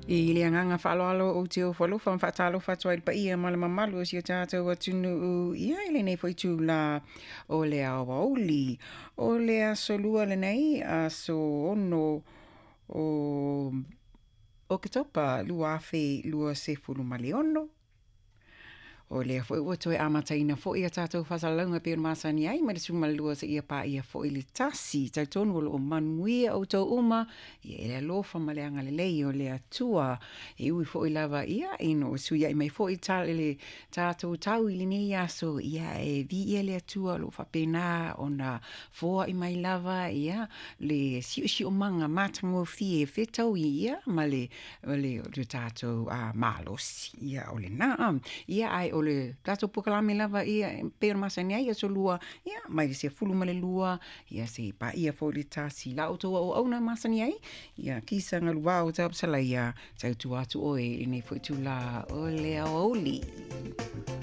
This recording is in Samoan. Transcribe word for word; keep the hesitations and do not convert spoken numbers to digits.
I le agaga faaaloalo ou te ofo alofa ma faatalofa atu ai i le paia ma le mamalu o si o tatou atunuu, ia i lenei foi itulā o le aoauli. O le aso Lua lenei, aso ono o Oketopa lua afe luasefulu ma le ono. O lea foi ua toe amataina foi a tatou faasalalauga e pei ona masani ai mai le sefulumalua seia paia foi le tasi. Talitonu o lo o manuia outou uma, ia e le alofa ma le agalelei o le Atua. E ui foi lava ia ina ua fesuiai mai foi le tatou tau i lenei aso, ia e viia le Atua o lo o faapena ona foai mai lava ia le siosiomaga matagofie e fetaui ia ma le, le, le tatou uh, malosi. Ia o lena. Ia ae o le tatou polokalame lava ia e pei ona masani ai aso lua, ia mai le sefulu ma le lua, ia seia paia foi le tasi. La outou auauna masani ai, ia Kisa Galuvao Tapusalaia, tautua atu oe i lenei foi itulā o le aoauli.